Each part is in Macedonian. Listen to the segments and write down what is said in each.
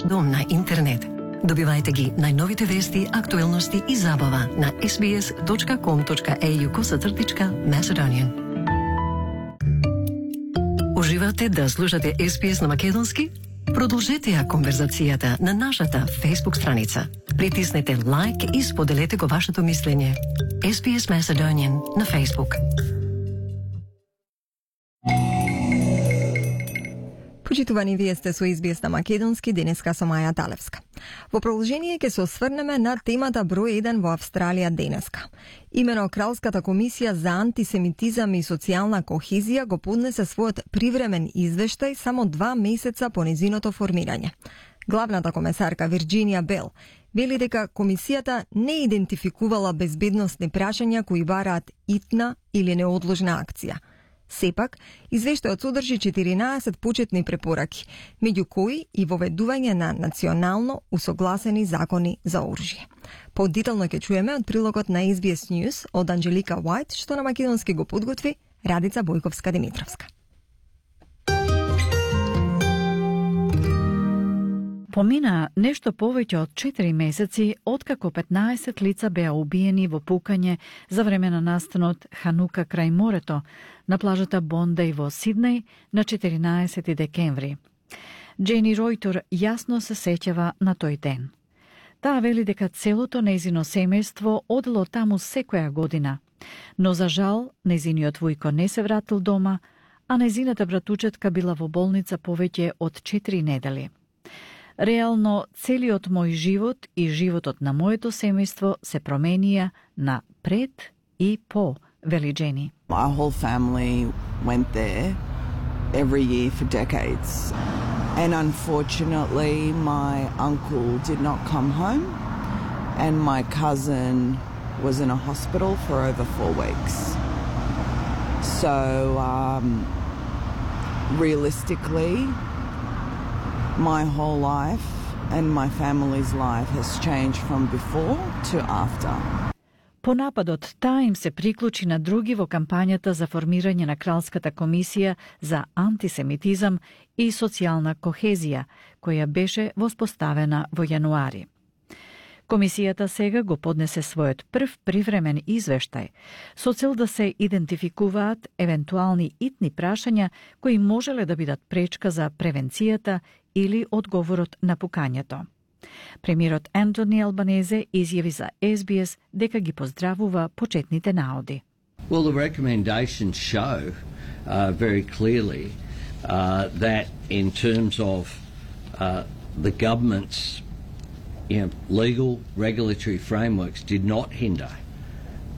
дом на интернет. Добивајте ги најновите вести, актуелности и забава на sbs.com.au/Macedonian. Уживате да слушате SBS на македонски? Продолжете ја конверзацијата на нашата Facebook страница. Притиснете лайк и споделете го вашето мислење. SBS Macedonian на Facebook. Почитувани, вие сте со SBS на македонски, денеска со Маја Талевска. Во продолжение ќе се осврнеме на темата број 1 во Австралија денеска. Имено Кралската комисија за антисемитизам и социјална кохезија го поднесе својот привремен извештај само 2 месеца по незиното формирање. Главната комесарка Вирџинија Бел вели дека комисијата не идентификувала безбедносни прашања кои бараат итна или неодложна акција. Сепак, извештајот содржи 14 почетни препораки, меѓу кои и воведување на национално усогласени закони за оружје. Подетално ќе чуеме од прилогот на SBS News од Анџелика Уајт, што на македонски го подготви Радица Бојковска-Димитровска. Помина нешто повеќе од 4 месеци откако 15 лица беа убиени во пукање за време на настанот Ханука крај морето на плажата Бондеј во Сиднеј на 14 декември. Джени Ройтор јасно се сеќава на тој ден. Таа вели дека целото нејзино семејство одело таму секоја година, но за жал нејзиниот војко не се вратил дома, а нејзината братучетка била во болница повеќе од 4 недели. Реално, целиот мој живот и животот на моето семејство се променија на пред и по, вели Джени. My whole family went there every year for decades. And unfortunately, my uncle did not come home, and my cousin was in a hospital for over 4 weeks. So, realistically, my whole life and my family's life has changed from before to after. По нападот, таа им се приклучи на други во кампањата за формирање на Кралската комисија за антисемитизам и социјална кохезија, која беше воспоставена во јануари. Комисијата сега го поднесе својот прв привремен извештај со цел да се идентификуваат евентуални итни прашања кои можеле да бидат пречка за превенцијата или одговорот на пукањето. Премиерот Антони Албанезе изјави за SBS дека ги поздравува почетните наоди. Well, the recommendations show very clearly that in terms of the government's legal regulatory frameworks did not hinder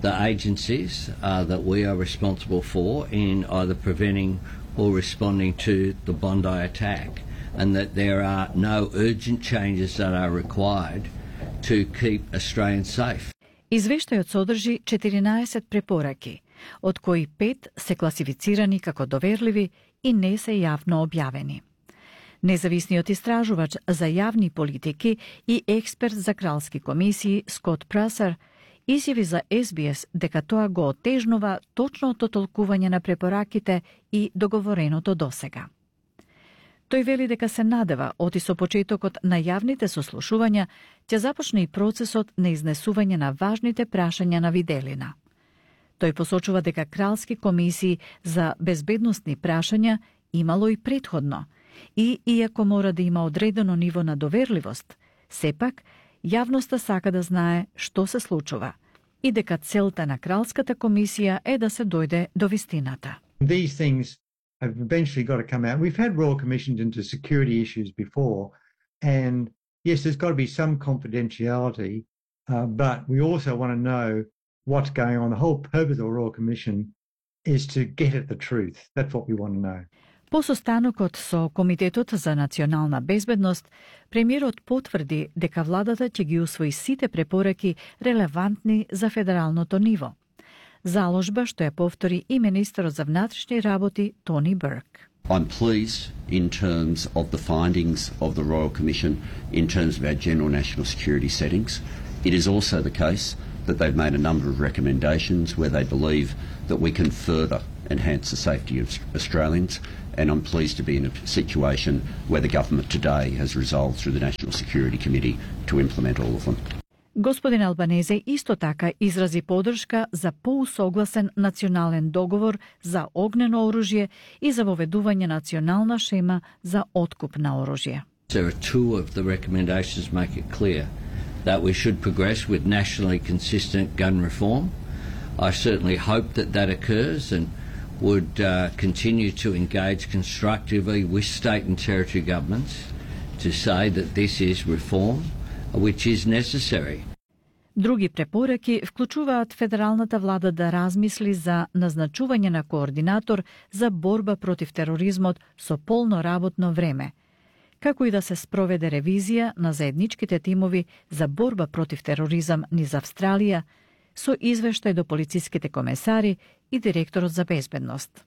the agencies that we are responsible for in either preventing or responding to the Bondi attack, and that there are no urgent changes that are required to keep Australians safe. Извештајот содржи 14 препораки, од кои 5 се класифицирани како доверливи и не се јавно објавени. Независниот истражувач за јавни политики и експерт за кралски комисии Скот Прасар изјави за SBS дека тоа го отежнува точното толкување на препораките и договореното досега. Тој вели дека се надева оти со почетокот на јавните сослушувања ќе започне и процесот на изнесување на важните прашања на виделина. Тој посочува дека кралски комисии за безбедносни прашања имало и претходно, и иако мора да има одредено ниво на доверливост, сепак јавноста сака да знае што се случува и дека целта на кралската комисија е да се дојде до вистината. These things have eventually got to come out. We've had royal commissions into security issues before, and yes, there's got to be some confidentiality, but we also want to know what's going on. The whole purpose of a royal commission is to get at the truth. That's what we want to know. По состанокот со Комитетот за национална безбедност, премиерот потврди дека владата ќе ги усвои сите препораки релевантни за федералното ниво. Заложба што ја повтори и министерот за внатрешни работи Тони Бурк. I'm pleased in terms of the findings of the Royal Commission in terms of our general national security settings. It is also the case that they've made a number of recommendations where they believe that we can further enhance the safety of Australians, and I'm pleased to be in a situation where the government today has resolved through the National Security Committee to implement all of them. Господин Албанезе исто така изрази подршка за поусогласен национален договор за огнено оружје и за воведување национална шема за откуп на оружје. There are two of the recommendations make it clear that we should progress with nationally consistent gun reform. I certainly hope that that occurs and would continue to engage constructively with state and territory governments to say that this is reform which is necessary. Други препораки вклучуваат федералната влада да размисли за назначување на координатор за борба против тероризмот со полно работно време, како и да се спроведе ревизија на заедничките тимови за борба против тероризам низ Австралија со извештај до полициските комесари и директорот за безбедност.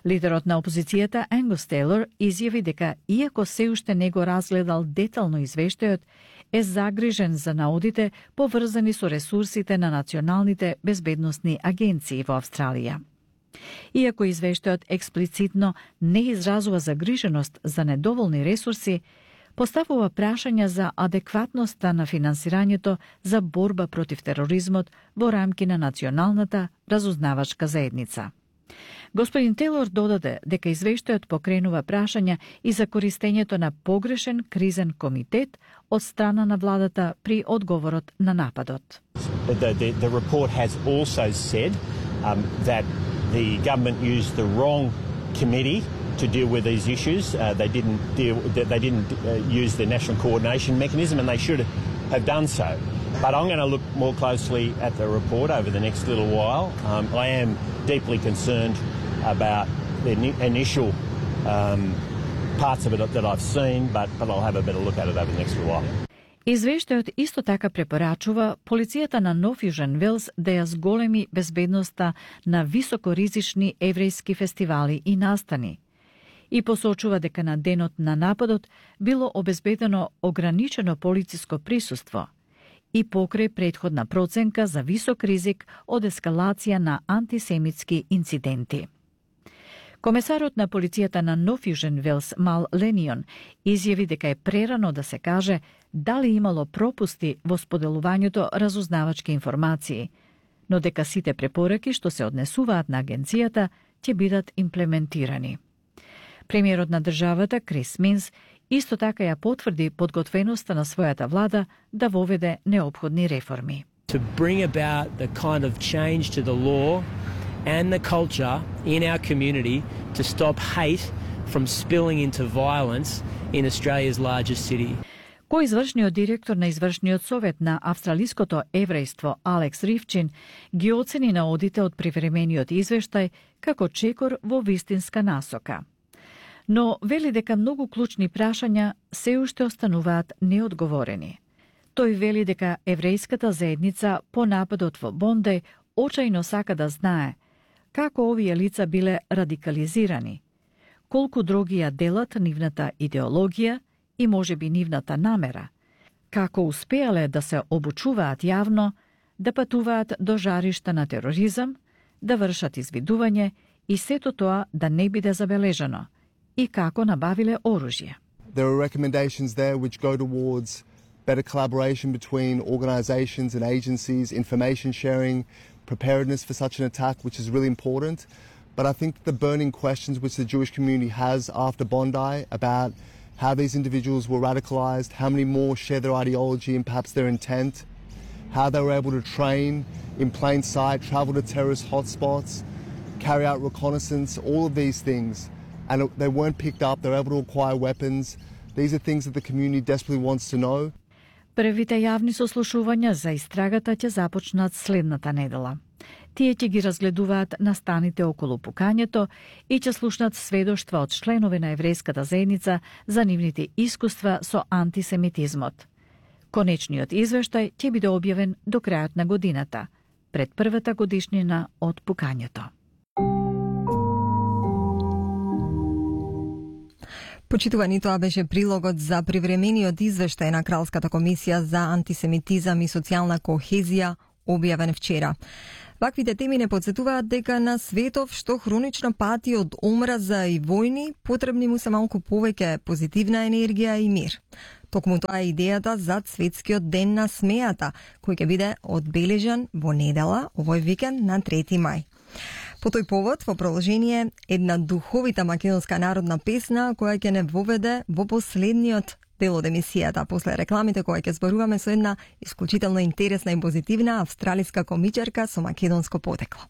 Лидерот на опозицијата Ангус Тейлор изјави дека иако се уште не го разгледал детално извештајот, е загрижен за наодите поврзани со ресурсите на националните безбедносни агенции во Австралија. Иако извештајот експлицитно не изразува загриженост за недоволни ресурси, поставува прашања за адекватноста на финансирањето за борба против тероризмот во рамки на националната разузнавачка заедница. Господин Тейлор додаде дека извештајот покренува прашања и за користењето на погрешен кризен комитет од страна на владата при одговорот на нападот. The report has also said that the government used the wrong committee to deal with these issues. They didn't use the national coordination mechanism, and they should have done so. But I'm going to look more closely at the report over the next little while. I am deeply concerned about the initial parts of it that I've seen, but I'll have a better look at it over the next little while. Извештајот исто така препорачува полицијата на Нов Јужен Велс да ја зголеми безбедноста на високоризични еврејски фестивали и настани и посочува дека на денот на нападот било обезбедено ограничено полициско присуство и покрај претходна проценка за висок ризик од ескалација на антисемитски инциденти. Комесарот на полицијата на Нов Јужен Велс Мал Ленион изјави дека е прерано да се каже дали имало пропусти во споделувањето разузнавачки информации, но дека сите препораки што се однесуваат на агенцијата ќе бидат имплементирани. Премиерот на државата Крис Минс исто така ја потврди подготвеноста на својата влада да воведе неопходни реформи. To bring about the kind of change to the law and the culture in our community to stop hate from spilling into violence in Australia's largest city. Коизвршниот директор на извршниот совет на австралиското еврејство Алекс Ривчин ги оцени наодите од привремениот извештај како чекор во вистинска насока. Но вели дека многу клучни прашања се уште остануваат неодговорени. Тој вели дека еврејската заедница по нападот во Бондеј очајно сака да знае како овие лица биле радикализирани, колку други ја делат нивната идеологија и можеби нивната намера, како успеале да се обучуваат јавно, да патуваат до жаришта на тероризам, да вршат извидување и сето тоа да не биде забележано, и како набавиле оружје. There are recommendations there which go towards better collaboration between organisations and agencies, information sharing, preparedness for such an attack, which is really important. But I think the burning questions which the Jewish community has after Bondi about how these individuals were radicalised, how many more share their ideology and perhaps their intent, how they were able to train in plain sight, travel to terrorist hotspots, carry out reconnaissance, all of these things. And they weren't picked up, they were able to acquire weapons. These are things that the community desperately wants to know. Првите јавни сослушувања за истрагата ќе започнат следната недела. Тие ќе ги разгледуваат настаните околу пукањето и ќе слушнат сведоштва од членови на еврејската заедница за нивните искуства со антисемитизмот. Конечниот извештај ќе биде објавен до крајот на годината, пред првата годишнина од пукањето. Почитувани, тоа беше прилогот за привремениот извештај на Кралската комисија за антисемитизам и социјална кохезија, објавен вчера. Ваквите теми не подсетуваат дека на светов што хронично пати од омраза и војни, потребни му се малку повеќе позитивна енергија и мир. Токму тоа е идејата за Светскиот ден на смејата, кој ќе биде одбележан во недела, овој викенд на 3 мај. По тој повод, во продолжение, една духовита македонска народна песна која ќе не воведе во последниот дел од емисијата, после рекламите кои ќе зборуваме со една исклучително интересна и позитивна австралиска комичарка со македонско потекло.